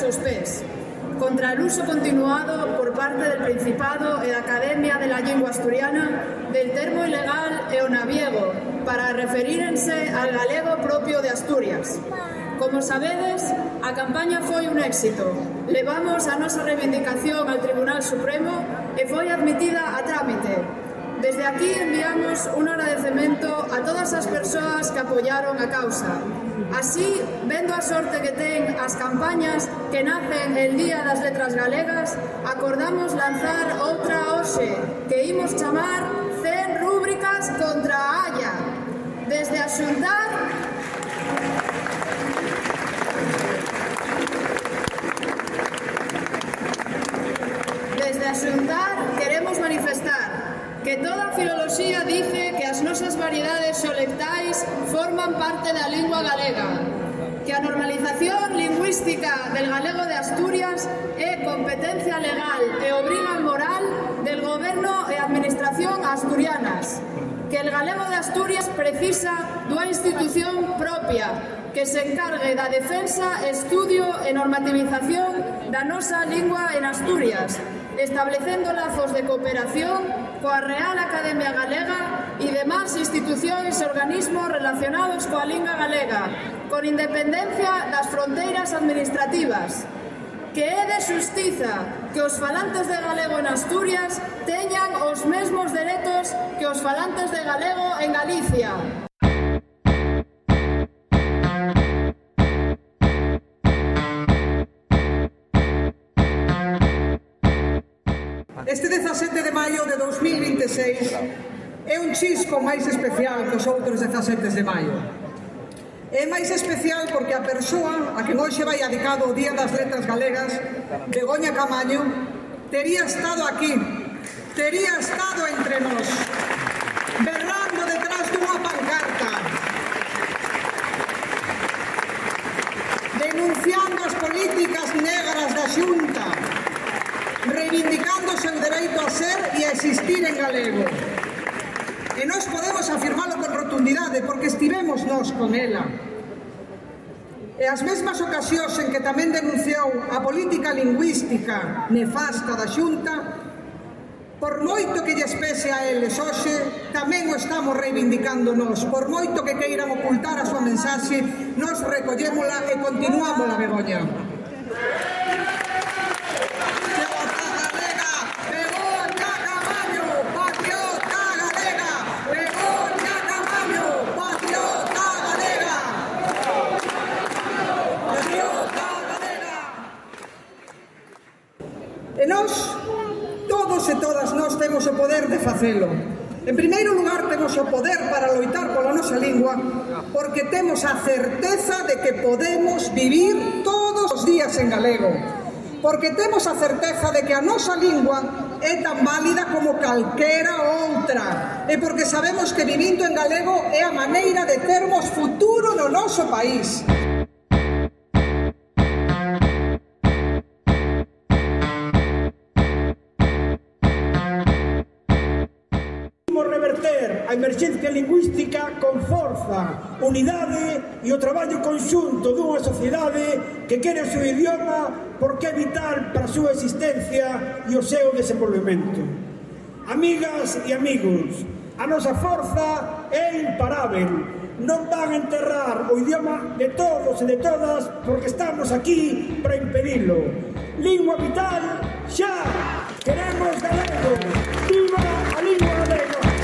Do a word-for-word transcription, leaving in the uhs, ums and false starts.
seus pés, contra el uso continuado por parte del Principado e da Academia de la Lingua Asturiana del termo ilegal e o naviego para referírense al galego propio de Asturias. Como sabedes, a campaña foi un éxito. Levamos a nosa reivindicación ao Tribunal Supremo e foi admitida a trámite. Desde aquí enviamos un agradecemento a todas as persoas que apoyaron a causa. Así, vendo a sorte que ten as campañas que nacen el Día das Letras Galegas, acordamos lanzar outra hoxe, que imos chamar cen rúbricas contra a Haya. Desde a xuntar... Desde a xuntar queremos manifestar que toda a filoloxía dice que as nosas variedades xolectais forman parte da lingua galega, que a normalización lingüística del galego de Asturias é competencia legal e obriga moral del goberno e administración asturianas, que el galego de Asturias precisa dunha institución propia que se encargue da defensa, estudio e normativización da nosa lingua en Asturias, establecendo lazos de cooperación coa Real Academia Galega e demás institucións e organismos relacionados coa lingua galega, con independencia das fronteiras administrativas. Que é de xustiza que os falantes de galego en Asturias teñan os mesmos dereitos que os falantes de galego en Galicia. Este dezasete de maio de dous mil vinte e seis é un chisco máis especial que os outros dezasete de maio. É máis especial porque a persoa a que hoxe vai dedicado o Día das Letras Galegas, Begoña Camaño, tería estado aquí, tería estado entre nós, berrando detrás dunha pancarta, denunciando as políticas negras da Xunta, reivindicando o seu dereito a ser e a existir en galego. E nós podemos afirmalo con rotundidade porque estivemos nós con ela. E as mesmas ocasións en que tamén denunciou a política lingüística nefasta da Xunta, por moito que lles pese a eles hoxe, tamén o estamos reivindicando nós. Por moito que queiran ocultar a súa mensaxe, nós recollémola e continuámola, Begoña. E nós, todos e todas nós, temos o poder de facelo. En primeiro lugar, temos o poder para loitar pola nosa lingua porque temos a certeza de que podemos vivir todos os días en galego. Porque temos a certeza de que a nosa lingua é tan válida como calquera outra. E porque sabemos que vivindo en galego é a maneira de termos futuro no noso país. A emerxencia lingüística con forza, unidade e o traballo conxunto dunha sociedade que quere o seu idioma porque é vital para a súa existencia e o seu desenvolvemento. Amigas e amigos, a nosa forza é imparável. Non van a enterrar o idioma de todos e de todas porque estamos aquí para impedilo. Lingua vital, xa!